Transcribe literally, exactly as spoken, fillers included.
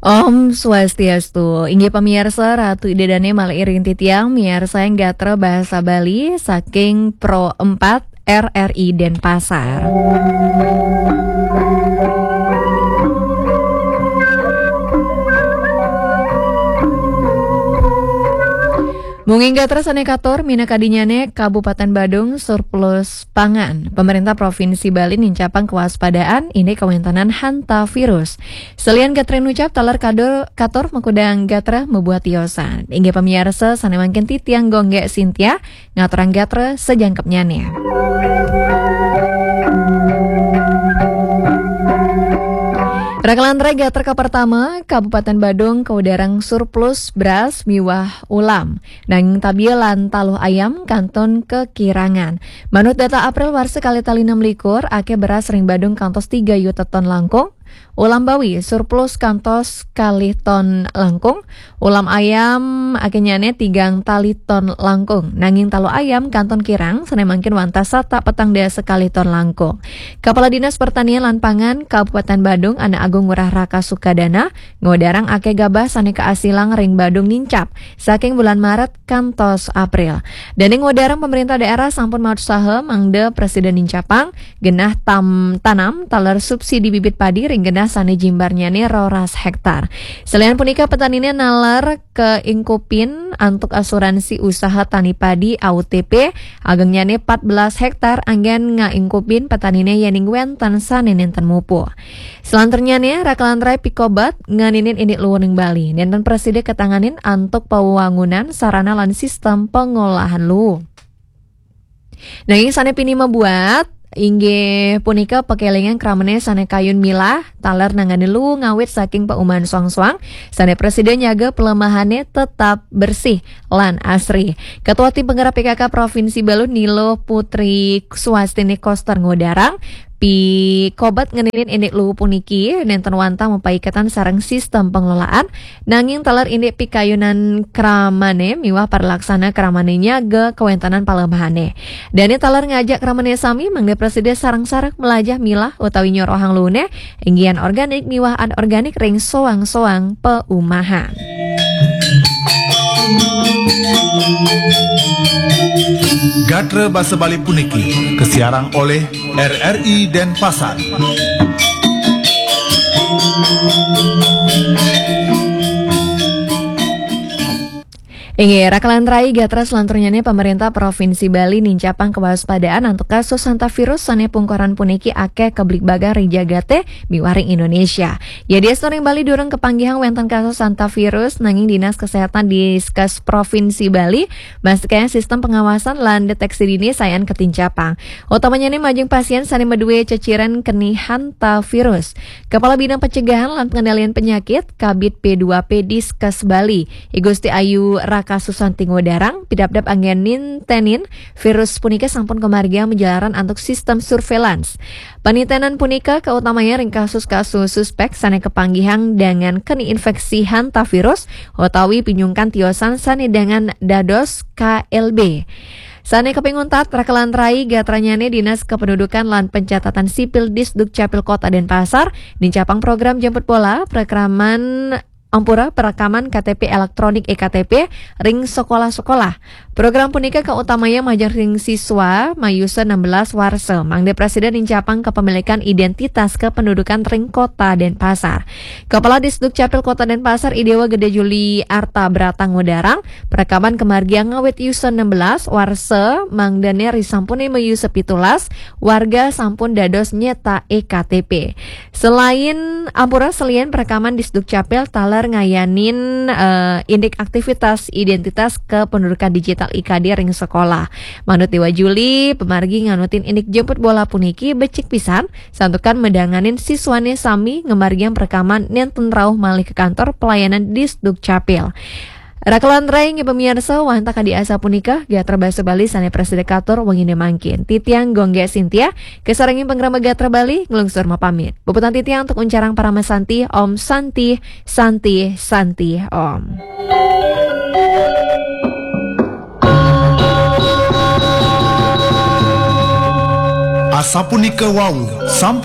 Om Swastiastu. Inggih pamiarsa, Ratu Ida Dane malih iring titiang miarsaing gatra basa Bali saking Pro empat R R I Denpasar. Munging gatra sane katur, minakadinyane Kabupaten Badung surplus pangan. Pemerintah Provinsi Bali nincapang kewaspadaan indik kawentanan hantavirus. Selian gatra nucap taler kadur, katur makudang gatra mabuat tiosan. Inggih pamiarsa, sane mangkin titiang Gonggek Sintia ngaturang gatra sajangkepnyane. Rakalan rai gatra kapertama, Kabupaten Badung kaudarang surplus beras miwah ulam. Nanging tabiya lan taluh ayam kantun kekirangan. Manut data April warsa kalih tali enam likur, akeh beras ring Badung kantos tiga yuta ton langkung. Ulam bawi surplus kantos kalih ton langkung. Ulam ayam akenyane tigang tali ton langkung. Nanging taluh ayam kantun kirang, sane mangkin wantah satak petang dasa kalih ton langkung. Kepala Dinas Pertanian lan Pangan Kabupaten Badung, Anak Agung Ngurah Raka Sukadana, ngodarang akeh gabah sane kaasilang ring Badung nincap saking bulan Maret kantos April. Dane ngodarang pemerintah daerah sampun mautsaha mangda presida nincapang genah tam tanam taler subsidi bibit padi ring genah sane jimbarnyane roras hektar. Selian punika, petanine naler kaingkupin antuk asuransi usaha tani padi A U T P, agengnyane empat belas hektar, anggen ngaingkupin petanine yening wenten sane nenten mupuh. Selanturnyane, rakalan rai pikobet ngeninin indik luuning Bali. Nenten prasida katanganin antuk pawangunan sarana lan sistem pangolahan luuh. Nanging sane pinih mabuat inggih punika pakelingan kramane sane kayun milah taler nanganin luuh ngawit saking pauman soang-soang sane prasida nyaga pelemahane tetap bersih lan asri. Ketua Tim Penggerak P K K Provinsi Bali, Nilo Putri Swastini Koster, ngodarang pikobet ngeninin indik luuh puniki nenten wantah mapaiketan sareng sistem pengelolaan, nanging taler indik pikayunan kramane miwah paralaksana kramane nyaga kawentanan palemahane. Dane taler ngajak kramane sami mangda prasida sareng-sareng melajah milah utawi nyorohang luuhne, inggihan organik miwah anorganik ring soang-soang paumahan. Gatra basa Bali puniki kasiarang oleh R R I Denpasar. Inggih, rakalan rai gatra selanturnyane, pemerintah Provinsi Bali nincapang kewaspadaan antuk kasus hantavirus sane pungkaran puniki akeh kabligbagan ring jagate miwah ring Indonesia. Yadiastun ring Bali durung kapanggihang wenten kasus hantavirus, nanging Dinas Kesehatan Diskes Provinsi Bali mastikayang sistem pengawasan lan deteksi dini sayan katincapang. Utamanyane majeng pasien sane madue ceciren keni hantavirus. Kepala Bidang Pencegahan lan Pengendalian Penyakit, Kabid P dua P Diskes Bali, I Gusti Ayu Raka Susanti, ngodarang, pidabdab anggen nintenin virus punika sampun kamargiang majalaran antuk sistem surveillance. Panintenan punika kautamanya ring kasus-kasus suspek sane kapanggihang dangan keni infeksi hantavirus utawi pinyungkan tiosan sane dangan dados K L B. Sane kaping untat, rakalan rai gatranyane, Dinas Kependudukan lan Pencatatan Sipil Disdukcapil Kota Denpasar nincapang program jemput bola, perekaman, ampura, perekaman K T P elektronik, e K T P, ring sekolah-sekolah. Program punika kautamanya majeng ring siswa mayusa enam belas warsa, mangda prasida nincapang kepemilikan identitas kependudukan ring Kota Denpasar. Kepala Disdukcapil Kota Denpasar, I Dewa Gede Juli Arta Brata, ngodarang, perekaman kamargiang ngawit yusa enam belas warsa, mangdane risampune mayusa pitulas, warga sampun dados nyetak e K T P. Selain, ampura, selian perekaman Disdukcapil taler ngayanin, eh, indik aktivitas identitas kependudukan digital, I K D, ring sekolah. Manut Dewa Juli, pamargi nganutin indik jemput bola puniki becik pisan, santukan madanganin siswane sami ngamargiang perekaman nenten rauh malih ka kantor pelayanan Disdukcapil. Rakalan rai inggih pamiarsa, wantah kadi asapunika gatra basa Bali sane prasida katur wengine mangkin. Titiang Gonggek Sintia, kasarengin pangrama Gatra Bali, nglungsur mapamit. Puputang titiang antuk uncarang parama santi, Om Santi, Santi, Santi, Om. Asapunika wau, sampun